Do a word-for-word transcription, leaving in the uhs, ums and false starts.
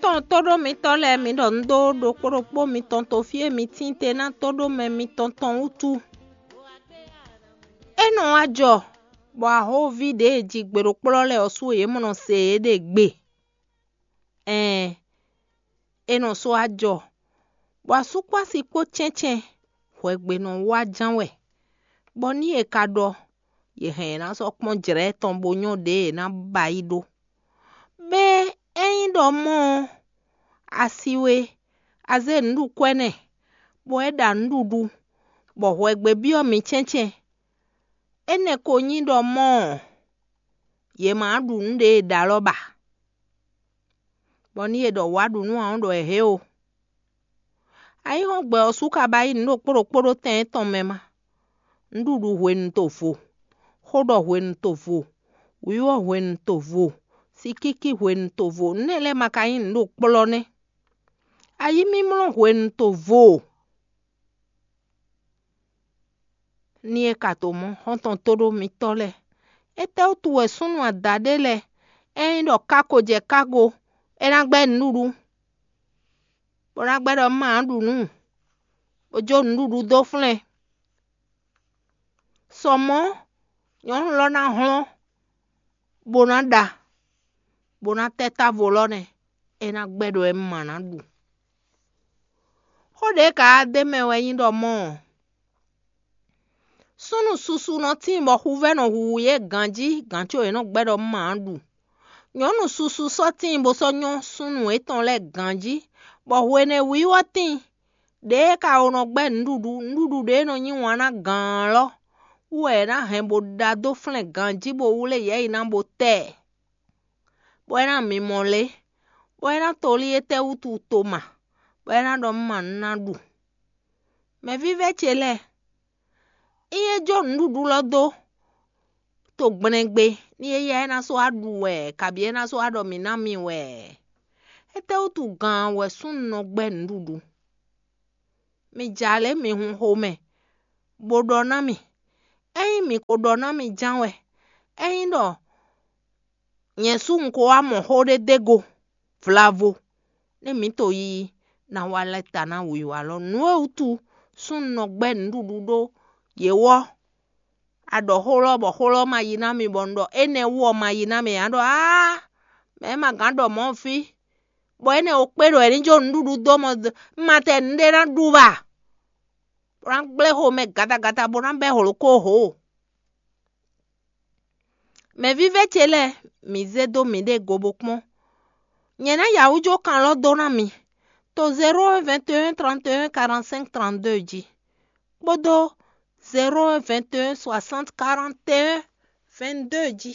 Tɔn tóɖó mitɔ́ lɛ́ɛ, mi ɖɔ un ɖó ɖokpó ɖokpó mitɔn to fí e mi tín te ná tóɖó mɛ mitɔn tɔn wútu. É nɔ wá jɔ bɔ ahóví ɖě e ji gbe ɖo kplɔ́ lɛ́ɛ ɔ́ sú yě mɔ nɔ se yě ɖe gbe. Ɛɛn, é nɔ sɔ́ wá jɔ bɔ asú kpó asi kpó cɛ́ncɛ́n hwɛgbe nɔ wá ján wɛ, bɔ ní è ka ɖɔ yě hɛn yě ná sɔ́ kpɔ́n jlɛ̌ tɔn bó nyɔ́ ɖě è nǎ ba yí ɖó. Bɛ́ ényí ɖɔ mɔ́ ɔ́, a si we, a zé nǔɖukwɛ́ nɛ́, bɔ é ɖa nǔɖuɖu, bɔ hwɛgbe byɔ́ mǐ cɛ́ncɛ́n. Énɛ́ ko nyí ɖɔ mɔ́ ɔ́, yě ma ɖu nǔ ɖě è ɖǒ alɔ ba, bɔ ní è ɖɔ wǎ ɖu nú ǎ ɔ́ ɖɔ è hě o. Ayǐhɔ́ngbe ɔ́ sú ka ba yí nǔ ɖokpó ɖokpó ɖó tɛn étɔn mɛ má. Nǔɖuɖu hwenu to vo, xó ɖɔ hwenu to vo, wǐwɔ́ hwenu to vo, sikíkí hwenu to vo, nǔ énɛ́ lɛ́ɛ ma ka nyí nǔ ɖo kplɔ́ nɛ́. Ayǐmímlɔ́ hwenu to vo. Ní é ka to mɔ̌ xɔ́ntɔn tóɖó mitɔ́ lɛ́ɛ, étɛ́wútu wɛ súnnu adaɖé lɛ́ɛ, ényí ɖɔ ká ko jɛ kágo, é ná gbɛ́ nǔɖuɖu, bó ná gbɛ́ ɖɔ má ɖu nǔ, bó jó nǔɖuɖu dó flɛ́n? Sɔ mɔ̌, nyɔ̌nu lɔ ná hlɔ́n, bó ná ɖa, bó ná tɛ́ távo lɔ nɛ́, é ná gbɛ́ ɖɔ é má ná ɖu. Xó ɖě ka wá d'é mɛ wɛ nyí ɖɔ mɔ́ ɔ́, súnnu susu nɔ tíin bɔ xuvɛ́ nɔ huhu yě ganjí gǎn có yě nɔ gbɛ́ ɖɔ má ɖu. Nyɔ̌nu susu sɔ́ tíin bó sɔ́ nyɔ́ súnnu étɔn lɛ́ɛ ganjí, bɔ hwenɛ́ wíwɔ́ tíin. Ɖěe ka o nɔ gbɛ́ nǔɖuɖu, nǔɖuɖu ɖě nɔ nyí wǎn ná gǎn lɔ́ wú wɛ è nǎ hɛn bó ɖa dó flɛ́n ganjí bó wlé yɛ̌yi ná bó tɛ ɛ, bɔ é ná mimɔ lé, bɔ é ná tolí étɛ́ wútu toma, bɔ é ná ɖɔ má nú ná ɖu. Mɛvívɛ́ ce lɛ́ɛ, é é jó nǔɖuɖu lɔ dó to gblɛngbe, ní éyɛ́ é ná sɔ́ wá ɖu wɛ, kabǐ é ná sɔ́ wá ɖɔ mǐ ná mi wɛ. Étɛ́wútu gǎn wɛ súnnu nɔ gbɛ́ nǔɖuɖu? Mi ja lě mi hun xomɛ, bó ɖɔ ná mì. Ényí mǐ ko ɖɔ ná mi ján wɛ, ényí ɖɔ nyɛ sú un ko wá mɔ xó ɖé d'é go vlavo, nú mǐ to yiyi ná wá lɛ́ ta ná wǐwá lɔ. Nǔ e wútu súnnu nɔ gbɛ́ nǔɖuɖu ɖó yě wɔ́, a ɖɔ xó lɔ bɔ xó lɔ ma yi ná mi, bɔ un ɖɔ énɛ́ wú ɔ́ ma yi ná mi ǎ, ɖɔ áá, mɛ̌ ma gǎn ɖɔ mɔ̌ fí, bɔ énɛ́ ɔ́ kpé ɖɔ è ní jó nǔɖuɖu dó mɔ, un ma tɛ nǔɖé ná ɖu ba, bó ná gblé xomɛ gatagata bó ná bɛ́ hlǒ kó hǒ. Mɛvívɛ́ ce lɛ́ɛ, mǐ zé dó mǐɖée go bó kpɔ́n. Nyɛ ná ya wú jó kan lɔ dó ná mi to zéro un vingt et un trente et un quarante-cinq trente-deux jí, kpódó zéro un vingt et un soixante quarante et un vingt-deux jí.